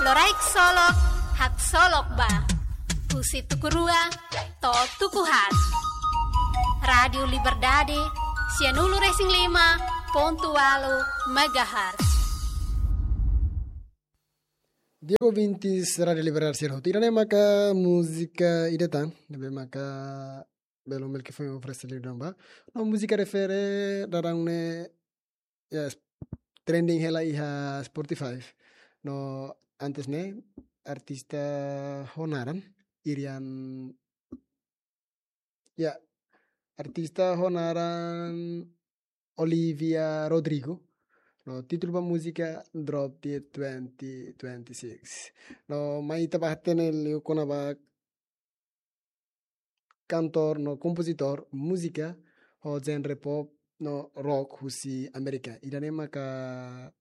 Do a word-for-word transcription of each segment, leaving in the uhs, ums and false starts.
Loraik Solok, haksolok ba. Husi tuku rua to'o tuku haat. Rádiu Liberdade, sianulu-resin-lima pontu ualu megahertz. Di'ak ouvintes Rádiu Liberdade sira hotu, ida-ne'e maka múzika ida tan, ne'ebé maka belun Melki foin oferese liután ba. No múzika refere daudaun ne'e, ya, trending hela iha Spotify. No antes ne'e artista ho naran Irian, ya, artista ho naran Olivia Rodrigo. No títulu ba múzika Drop Dead twenty twenty-six. No mai ita bá hatene liu kona-ba kantór no kompozitór múzika ho genre pop no rock husi Amérika. Ida-ne'e maka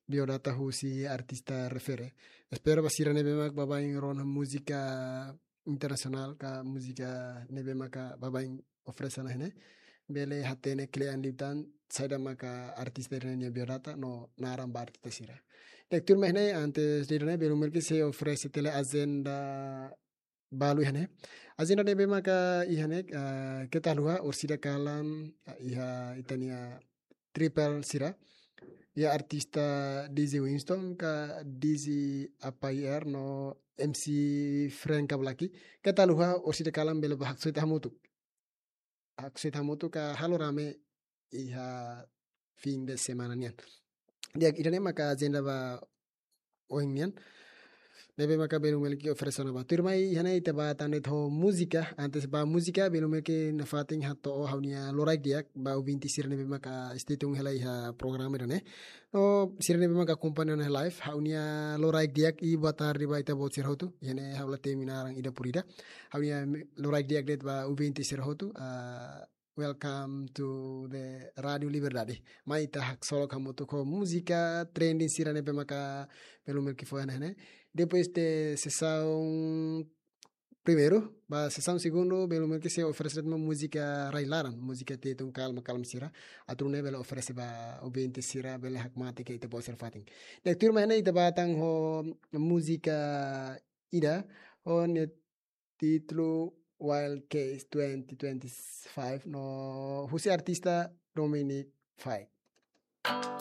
biodata husi artista refere. Espera ba sira ne'ebé mak baibain rona múzika internasionál ka múzika ne'ebé maka baibain oferese ona iha ne'e, bele hatene kle'an liután saida maka artista ida-ne'e nia biodata no naran ba artista sira. Di'ak, tuirmai iha ne'e, antes de ida-ne'e, belun Melki sei oferese tiha lai ajenda balu iha ne'e. Ajenda ne'ebé maka iha ne'e, ah, keta haluha orsida kalan, ah, iha ita-nia triple sira. Iha artista D J Winston ka D J Apayer no M C Frank Kablaki. Keta haluha orsida kalan bele bá haksoit hamutuk. Haksoit hamutuk ka halo rame iha fim de semana nian. Di'ak, ida-ne'e maka ajenda ba ohin nian ne'ebé maka belun Melki oferese ona ba. Tuirmai iha ne'e ita bá tan de'it ho múzika, antes bá múzika belun Melki nafatin hato'o ha'u-nia loraik di'ak ba ouvinte sira ne'ebé maka stay tune hela iha programa ida-ne'e. No sira ne'ebé maka akompaña ona live, ha'u-nia loraik di'ak i boa tarde ba ita-boot sira hotu. Iha ne'e ha'u la temi naran ida por ida. Ha'u-nia loraik di'ak de'it ba ouvinte sira hotu. Ah, welcome to the Rádiu Liberdade. Mai ita haksolok hamutuk ho múzika trending sira ne'ebé maka belun Melki fó iha ne'e. Depois de sesaun primeiru, ba sesaun segundu, belun Melki sei oferese de'it mak múzika rai-laran, múzika tetun kalma-kalma sira. Atu nune'e bele oferese ba ouvinte sira, bele hakmatek iha ita-boot sira fatin. Di'ak, tuirmai iha ne'e ita bá tan ho múzika ida, ho nia títulu Wild Case twenty twenty-five, no husi artista Dominic Fike.